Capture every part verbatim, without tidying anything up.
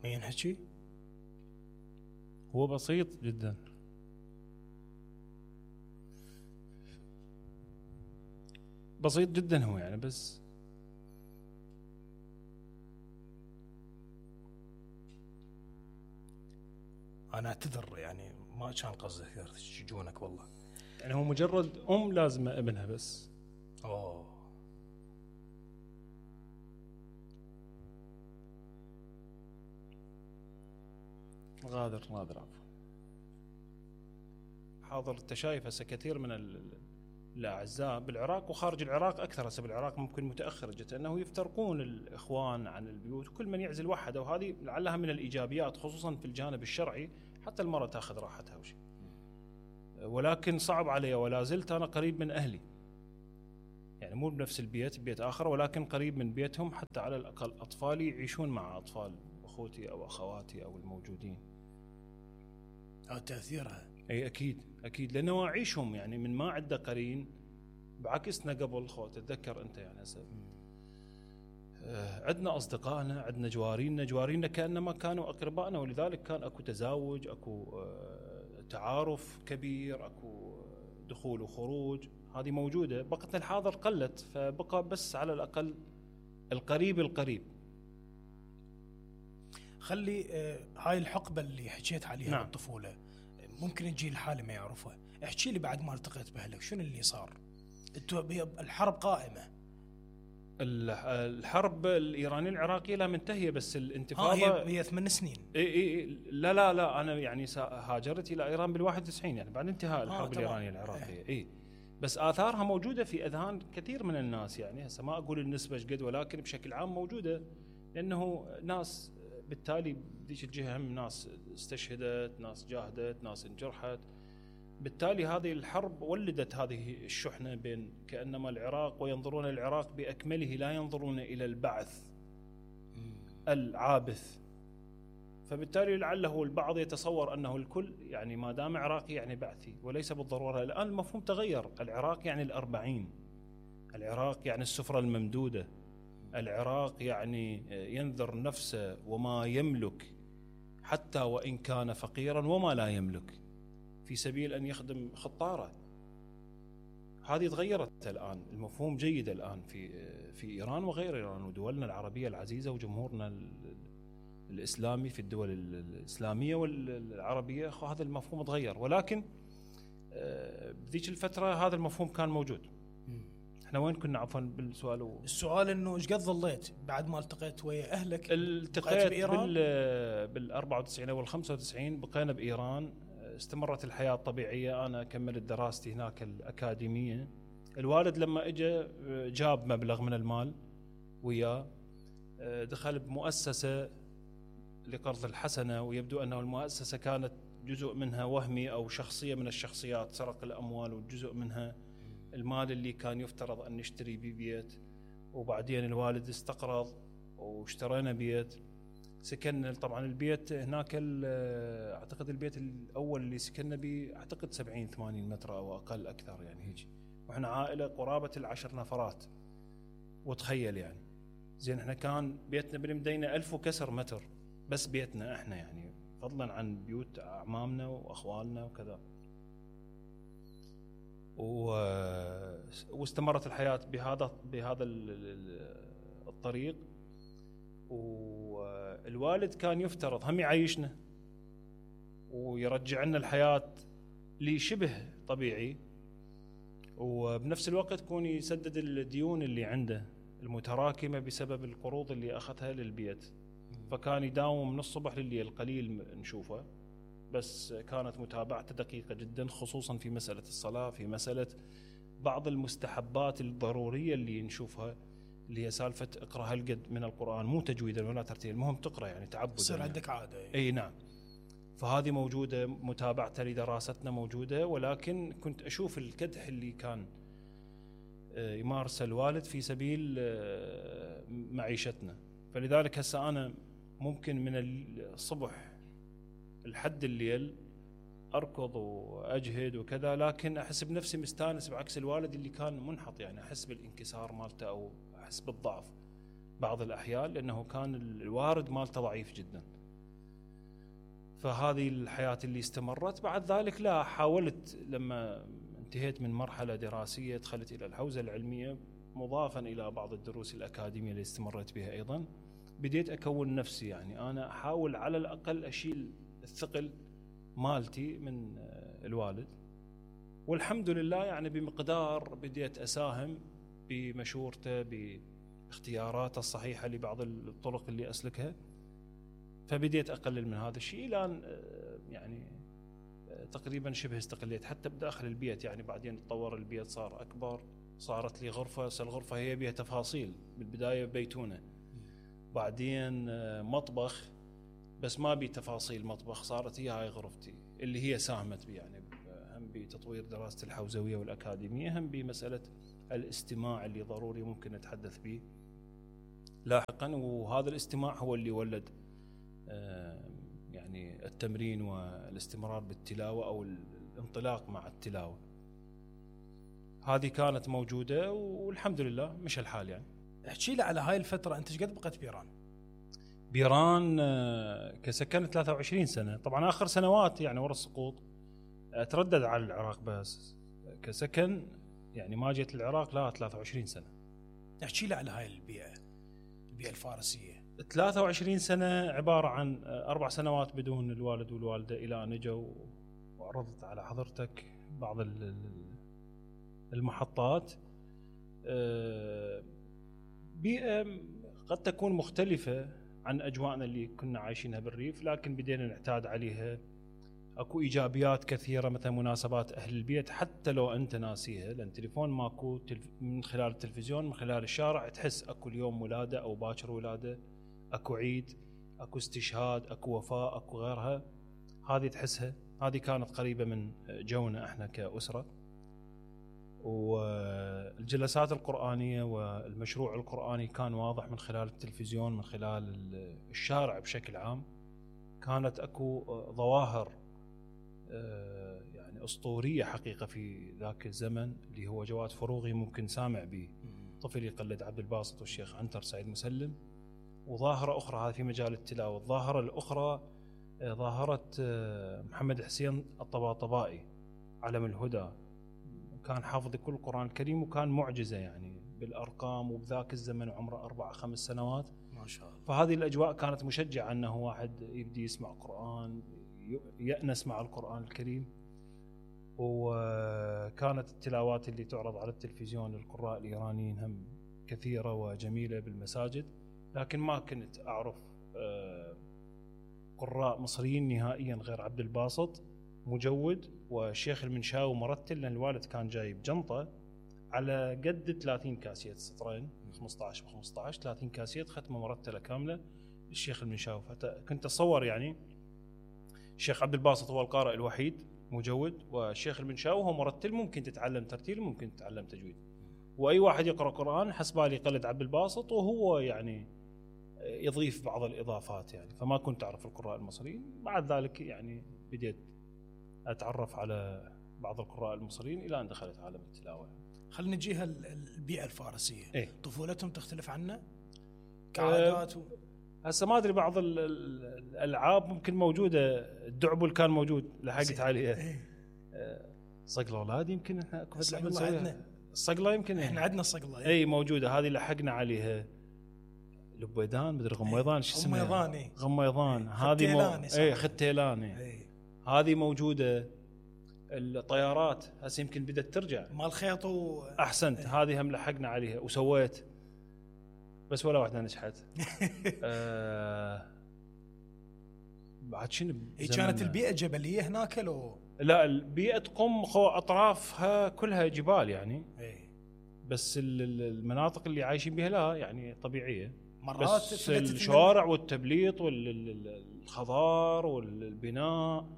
ما ينحكي؟ هو بسيط جدا. بسيط جدا هو يعني، بس انا اعتذر يعني ما كان قصدي تشجونك والله. يعني هو مجرد ام لازمه ابنها بس. اوه غادر غادر عفوا. حاضر. انت شايف هسه كثير من الاعزاء بالعراق وخارج العراق اكثر، هسه بالعراق ممكن متاخر جدا انه يفترقون الاخوان عن البيوت وكل من يعزل وحده، وهذه لعلها من الايجابيات خصوصا في الجانب الشرعي، حتى المراه تاخذ راحتها وشيء. ولكن صعب علي ولا زلت انا قريب من اهلي، يعني مو بنفس البيت، بيت اخر ولكن قريب من بيتهم، حتى على الاقل اطفالي يعيشون مع اطفال اخوتي او اخواتي او الموجودين. اه تاثيرها. اي اكيد اكيد، لانه اعيشهم يعني من ما عنده قرين بعكسنا قبل. خو تتذكر انت يعني هسه آه عندنا اصدقائنا، عندنا جوارينا، جوارينا كانما كانوا اقربائنا، ولذلك كان اكو تزاوج، اكو آه تعارف كبير، اكو دخول وخروج، هذه موجوده. بقتنا الحاضر قلت، فبقى بس على الاقل القريب القريب. خلي آه هاي الحقبه اللي حكيت عليها نعم. بالطفوله ممكن الجيل الحالي ما يعرفها. احكي لي بعد ما التقيت باهلك شنو اللي صار؟ الحرب قائمه، الحرب الايرانيه العراقيه لا منتهيه، بس الانتفاضه هي هي ثمان سنين. اي اي لا لا لا انا يعني هاجرت الى ايران بالواحد وتسعين، يعني بعد انتهاء الحرب آه الايرانيه العراقيه. اي إيه. بس اثارها موجوده في اذهان كثير من الناس، يعني هسه ما اقول النسبه ايش قد، ولكن بشكل عام موجوده، لانه ناس بالتالي بديش الجهه هم ناس استشهدت، ناس جاهدت، ناس انجرحت. بالتالي هذه الحرب ولدت هذه الشحنة بين كأنما العراق، وينظرون العراق بأكمله، لا ينظرون إلى البعث العابث. فبالتالي لعله البعض يتصور أنه الكل يعني ما دام عراقي يعني بعثي، وليس بالضرورة. الآن المفهوم تغير. العراق يعني الأربعين، العراق يعني السفرة الممدودة، العراق يعني ينذر نفسه وما يملك حتى وإن كان فقيرا وما لا يملك في سبيل أن يخدم خطاره. هذه تغيرت الآن، المفهوم جيد الآن في في إيران وغير إيران ودولنا العربية العزيزة وجمهورنا الإسلامي في الدول الإسلامية والعربية. هذا المفهوم تغير، ولكن بذيك الفترة هذا المفهوم كان موجود. احنا وين كنا عفوا بالسؤال؟ و... السؤال انه ايش قد ظليت بعد ما التقيت ويا اهلك؟ التقيت بإيران بال بال أربعة وتسعين او خمسة وتسعين، بقينا بإيران، استمرت الحياة الطبيعية. أنا كملت دراستي هناك الأكاديمية. الوالد لما إجا جاب مبلغ من المال وياه، دخل بمؤسسة لقرض الحسنة، ويبدو أنه المؤسسة كانت جزء منها وهمي أو شخصية من الشخصيات سرق الأموال، وجزء منها المال اللي كان يفترض أن نشتري بيه بيت. وبعدين الوالد استقرض واشترينا بيت، سكننا. طبعا البيت هناك اعتقد البيت الاول اللي سكننا به اعتقد سبعين ثمانين متر او اقل اكثر يعني هيك، واحنا عائله قرابه العشر نفرات. وتخيل يعني زين احنا كان بيتنا بالمدينه ألف وكسر متر، بس بيتنا احنا يعني، فضلا عن بيوت اعمامنا واخوالنا وكذا. و... واستمرت الحياه بهذا بهذا الطريق. والوالد كان يفترض هم يعيشنا ويرجع لنا الحياة لشبه طبيعي، وبنفس الوقت يكون يسدد الديون اللي عنده المتراكمة بسبب القروض اللي أخذها للبيت. فكان يداوم من الصبح لليل، قليل نشوفه، بس كانت متابعته دقيقة جدا، خصوصا في مسألة الصلاة، في مسألة بعض المستحبات الضرورية اللي نشوفها، اللي هي سالفة اقرأ هالقد من القرآن، مو تجويدا ولا ترتيل، المهم تقرأ يعني تعبدا، يصير عندك عادة. اي نعم. فهذه موجودة، متابعتها لدراستنا موجودة. ولكن كنت أشوف الكدح اللي كان يمارسه الوالد في سبيل معيشتنا. فلذلك هسه أنا ممكن من الصبح لحد الليل أركض وأجهد وكذا، لكن أحس بنفسي مستانس، بعكس الوالد اللي كان منحط، يعني أحس بالانكسار مالته أو أحس بالضعف بعض الأحيان، لأنه كان الوارد مالته ضعيف جدا. فهذه الحياة اللي استمرت. بعد ذلك لا حاولت لما انتهيت من مرحلة دراسية دخلت إلى الحوزة العلمية مضافا إلى بعض الدروس الأكاديمية اللي استمرت بها أيضا. بديت أكون نفسي، يعني أنا أحاول على الأقل أشيل الثقل مالتي من الوالد، والحمد لله يعني بمقدار بديت أساهم بمشورته باختياراته الصحيحة لبعض الطرق اللي أسلكها، فبديت أقلل من هذا الشيء إلى أن يعني تقريبا شبه استقليت حتى بداخل البيت. يعني بعدين تطور البيت صار أكبر، صارت لي غرفة، الغرفة هي بها تفاصيل، بالبداية بيتونة، بعدين مطبخ بس ما بي تفاصيل مطبخ، صارت هي هاي غرفتي اللي هي ساهمت بي يعني هم بتطوير دراسة الحوزوية والأكاديمية، هم بمسألة الاستماع اللي ضروري ممكن نتحدث به لاحقا. وهذا الاستماع هو اللي ولد يعني التمرين والاستمرار بالتلاوة أو الانطلاق مع التلاوة. هذه كانت موجودة والحمد لله مش الحال. يعني احكي لي على هاي الفترة، أنت قد بقيت بإيران؟ بإيران كسكن ثلاثة وعشرين سنة، طبعا آخر سنوات يعني ورا السقوط أتردد على العراق، بس كسكن يعني ما جيت العراق لا ثلاثة وعشرين سنة. احكي لي على هاي البيئة، البيئة الفارسية. ثلاثة وعشرين سنة عبارة عن أربع سنوات بدون الوالد والوالدة إلى أن جوا، وعرضت على حضرتك بعض المحطات. بيئة قد تكون مختلفة عن أجواءنا اللي كنا عايشينها بالريف، لكن بدينا نعتاد عليها. أكو إيجابيات كثيرة، مثلا مناسبات أهل البيت حتى لو أنت ناسيها، لأن تليفون ماكو، من خلال التلفزيون من خلال الشارع تحس أكو اليوم ولادة أو باكر ولادة، أكو عيد، أكو استشهاد، أكو وفاة، أكو غيرها، هذه تحسها. هذه كانت قريبة من جونا إحنا كأسرة. والجلسات القرآنية والمشروع القرآني كان واضح من خلال التلفزيون، من خلال الشارع بشكل عام. كانت أكو ظواهر يعني أسطورية حقيقة في ذاك الزمن، اللي هو جواد فروغي ممكن سامع به، طفل يقلد عبد الباسط والشيخ عنتر سعيد مسلم. وظاهرة أخرى هذه في مجال التلاوة. الظاهرة الأخرى ظاهرة محمد حسين الطباطبائي علم الهدى، كان حافظ كل القرآن الكريم وكان معجزة يعني بالأرقام، وبذاك الزمن وعمره أربع خمس سنوات ما شاء الله. فهذه الأجواء كانت مشجعة أنه واحد يبدي يسمع قرآن، يأنس مع القرآن الكريم. وكانت التلاوات اللي تعرض على التلفزيون للقراء الإيرانيين هم كثيرة وجميلة بالمساجد، لكن ما كنت أعرف قراء مصريين نهائيا غير عبد الباسط مجود والشيخ المنشاوي مرتل، لأن الوالد كان جايب جنطة على قد ثلاثين كاسيت، سطرين خمسة عشر ب خمسة عشر، ثلاثين كاسيت ختمة مرتلة كاملة الشيخ المنشاوي. كنت أتصور يعني الشيخ عبد الباسط هو القارئ الوحيد مجود، والشيخ المنشاوي هو مرتل، ممكن تتعلم ترتيل ممكن تتعلم تجويد، وأي واحد يقرأ قرآن حسبالي يقلد عبد الباسط وهو يعني يضيف بعض الإضافات يعني. فما كنت أعرف القراء المصريين. بعد ذلك يعني بديت أتعرف على بعض القراء المصريين إلى أن دخلت عالم التلاوة. خلينا نجيها البيئة الفارسية. إيه؟ طفولتهم تختلف عنا كعادات؟ أه هسه ما أدري، بعض الألعاب ممكن موجودة، الدعبل كان موجود لحقت عليه. إيه؟ أه صقلة أولاد يمكن إحنا كفت لعبة نسويها. الصقلة يمكن إحنا عندنا الصقلة. أي موجودة، هذه لحقنا عليها. لبيدان مدري غميضان شو اسمها؟ غميضان. إيه؟ غميضان. هذه مو... اي ختيلان. إيه؟ هذه موجودة. الطيارات هسه يمكن بدأت ترجع مال خيط و... أحسنت. إيه؟ هذه هم لحقنا عليها وسويت، بس ولا واحدة نجحت. آه... بعد شنو؟ هي كانت البيئة جبلية هناك لو؟ لا، البيئة قم أطرافها كلها جبال يعني. إيه؟ بس المناطق اللي عايشين بها لا يعني طبيعية. مرات بس الشوارع والتبليط والخضار والبناء،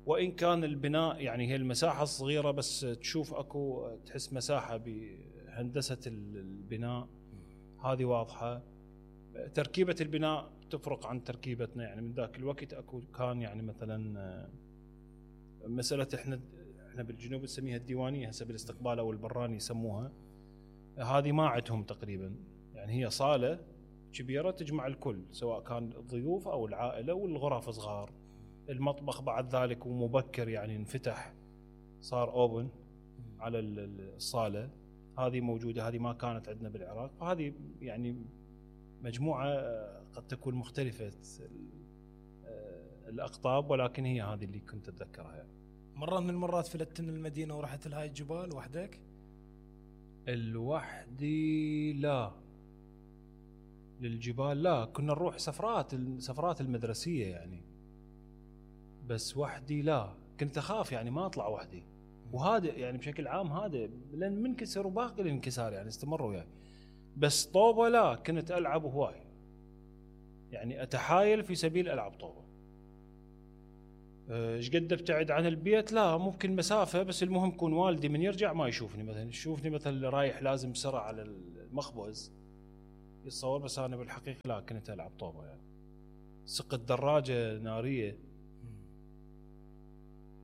وإن كان البناء يعني هي المساحة الصغيرة، بس تشوف أكو تحس مساحة بهندسة البناء هذه واضحة. تركيبة البناء تفرق عن تركيبتنا يعني من ذاك الوقت. أكو كان يعني مثلا مسألة إحنا إحنا بالجنوب نسميها الديوانية، هسه بالاستقبال أو البراني يسموها، هذه ما عندهم تقريبا يعني. هي صالة كبيرة تجمع الكل، سواء كان الضيوف أو العائلة، والغرف صغار. المطبخ بعد ذلك ومبكر يعني انفتح صار اوبن على الصاله، هذه موجوده، هذه ما كانت عندنا بالعراق. فهذه يعني مجموعه قد تكون مختلفه الاقطاب، ولكن هي هذه اللي كنت اتذكرها يعني. مره من المرات فلتت من المدينه ورحت لهاي الجبال وحدك؟ الوحدي لا، للجبال لا، كنا نروح سفرات السفرات المدرسيه يعني، بس وحدي لا، كنت اخاف يعني ما اطلع وحدي. وهذا يعني بشكل عام هذا لان منكسر وباقي الانكسار يعني استمروا وياي. بس طوبه لا، كنت العب هواي يعني، اتحايل في سبيل العب طوبه. ايش قد ابتعد عن البيت؟ لا، ممكن مسافه، بس المهم يكون والدي من يرجع ما يشوفني، مثلا يشوفني مثلا رايح لازم بسرعه على المخبز يتصور، بس انا بالحقيقه لا، كنت العب طوبه يعني. سقت دراجه ناريه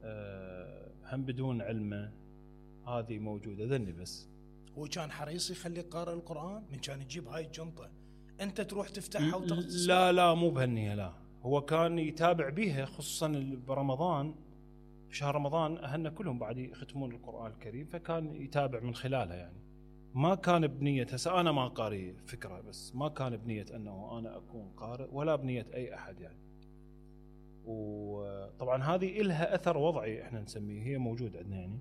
أه هم بدون علمه، هذه موجوده ذني. بس هو كان حريص يخليك قارئ القرآن من كان يجيب هاي الجنطة انت تروح تفتحها وتاخذ؟ لا لا مو بهالنية، لا، هو كان يتابع بيها، خصوصا برمضان، شهر رمضان اهلنا كلهم بعد يختمون القرآن الكريم، فكان يتابع من خلالها يعني. ما كان بنية، هسه انا ما قارئ فكرة، بس ما كان بنية انه انا اكون قارئ ولا بنية اي احد يعني. وطبعا هذه إلها اثر وضعي احنا نسميه، هي موجود عندنا يعني.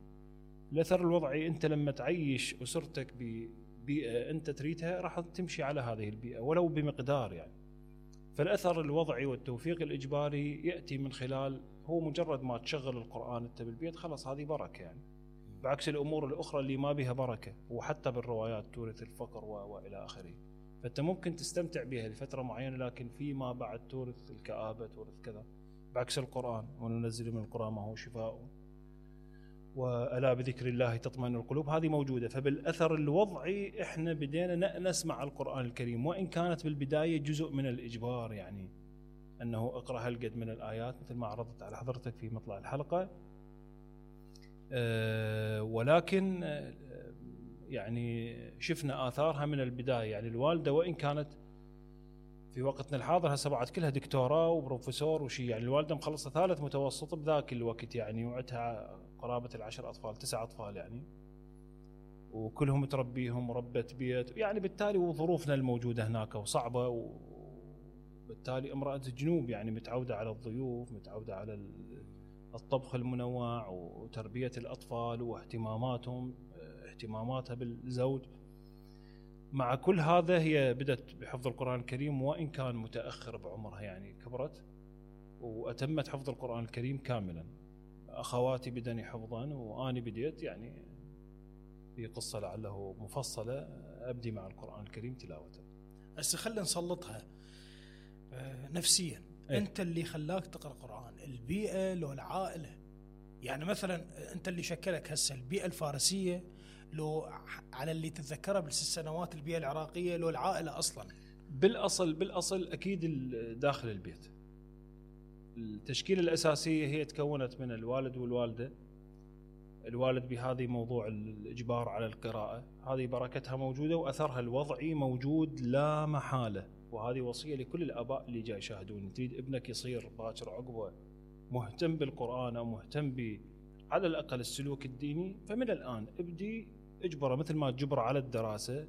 الاثر الوضعي، انت لما تعيش اسرتك ببيئه انت تريدها راح تمشي على هذه البيئه ولو بمقدار يعني. فالاثر الوضعي والتوفيق الاجباري ياتي من خلال، هو مجرد ما تشغل القران انت بالبيت خلاص هذه بركه يعني، بعكس الامور الاخرى اللي ما بها بركه، وحتى بالروايات تورث الفقر والى اخره. فانت ممكن تستمتع بها لفتره معينه، لكن فيما بعد تورث الكآبه، تورث كذا، بعكس القران. وننزل من القران ما هو شفاء وألا بذكر الله تطمئن القلوب، هذه موجودة. فبالأثر الوضعي إحنا بدينا نأنس مع القرآن الكريم، وإن كانت بالبداية جزء من الإجبار يعني، أنه اقرأ هالقد من الآيات مثل ما عرضت على حضرتك في مطلع الحلقة. أه ولكن أه يعني شفنا آثارها من البداية يعني. الوالدة وإن كانت في وقتنا الحاضر هسه بعد كلها دكتوراه وبروفيسور وشي يعني، الوالدة مخلصة ثالث متوسط بذاك الوقت يعني، وعدها قرابة العشر أطفال تسع أطفال يعني، وكلهم تربيهم وربة بيت يعني. بالتالي وظروفنا الموجودة هناك وصعبة، وبالتالي امرأة جنوب يعني، متعودة على الضيوف، متعودة على الطبخ المنوع وتربية الأطفال واهتماماتهم، اهتماماتها بالزوج. مع كل هذا هي بدأت بحفظ القرآن الكريم، وإن كان متأخر بعمرها يعني، كبرت وأتمت حفظ القرآن الكريم كاملا. أخواتي بدني حفظا وأنا بديت يعني في قصة لعله مفصلة أبدي مع القرآن الكريم تلاوته. هسه خلينا نسلطها نفسيا. إيه؟ أنت اللي خلاك تقرأ قرآن، البيئة لو العائلة؟ يعني مثلا أنت اللي شكلك هسه البيئة الفارسية، لو على اللي تتذكره بالست سنوات البيئة العراقية، لو العائلة أصلا؟ بالأصل بالأصل أكيد داخل البيت. التشكيلة الأساسية هي تكونت من الوالد والوالدة. الوالد بهذه موضوع الإجبار على القراءة، هذه بركتها موجودة وأثرها الوضعي موجود لا محالة. وهذه وصية لكل الآباء اللي جاي يشاهدون، تريد ابنك يصير باكر عقبه مهتم بالقرآن أو مهتم ب على الأقل السلوك الديني، فمن الآن ابدي اجبره مثل ما تجبره على الدراسة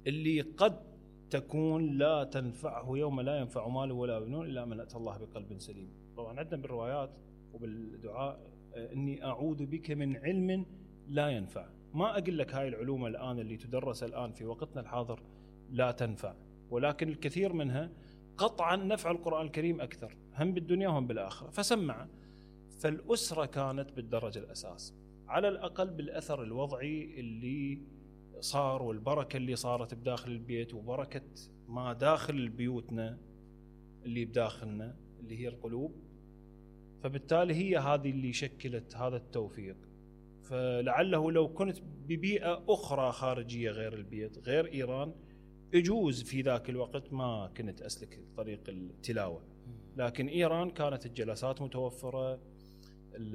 اللي قد تكون لا تنفعه يوم لا ينفع مال ولا بنون إلا من أتى الله بقلب سليم. طبعا عندنا بالروايات وبالدعاء إني أعوذ بك من علم لا ينفع. ما أقول لك هاي العلوم الآن اللي تدرس الآن في وقتنا الحاضر لا تنفع، ولكن الكثير منها قطعا نفع القرآن الكريم أكثر، هم بالدنيا وهم بالآخرة. فسمع. فالأسرة كانت بالدرجة الأساس، على الأقل بالأثر الوضعي اللي صار والبركة اللي صارت بداخل البيت، وبركة ما داخل بيوتنا اللي بداخلنا اللي هي القلوب. فبالتالي هي هذه اللي شكلت هذا التوفيق. فلعله لو كنت ببيئة أخرى خارجية غير البيت، غير إيران، يجوز في ذاك الوقت ما كنت أسلك طريق التلاوة. لكن إيران كانت الجلسات متوفرة،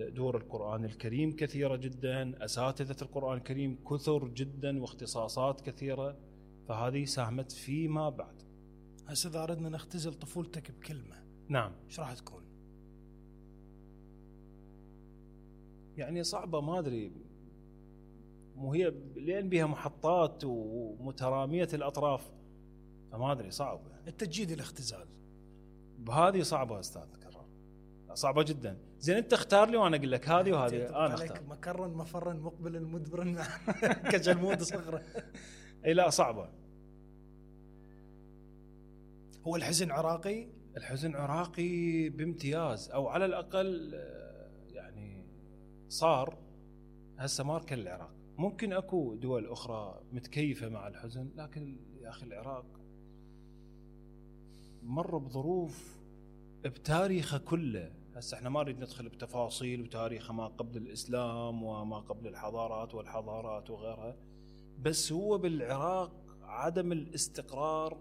دور القرآن الكريم كثيرة جدا، أساتذة القرآن الكريم كثر جدا، واختصاصات كثيرة، فهذه ساهمت فيما بعد. هسه إذا أردنا نختزل طفولتك بكلمة، نعم، ايش راح تكون؟ يعني صعبه ما ادري، وهي لين بها محطات ومتراميه الاطراف، فما ادري صعب. التجديد الاختزال بهذه صعبه استاذ كرار، صعبه جدا. زين انت اختار لي وانا اقول لك هذه وهذه. انا اختار مكرا مفرا مقبلا مدبرا كجلمود صغره. اي لا صعبه. هو الحزن عراقي؟ الحزن عراقي بامتياز، او على الاقل يعني صار هسه ماركه للعراق. ممكن اكو دول اخرى متكيفه مع الحزن، لكن يا اخي العراق مر بظروف بتاريخه كله. هسه احنا ما نريد ندخل بتفاصيل وتاريخه ما قبل الاسلام وما قبل الحضارات والحضارات وغيرها، بس هو بالعراق عدم الاستقرار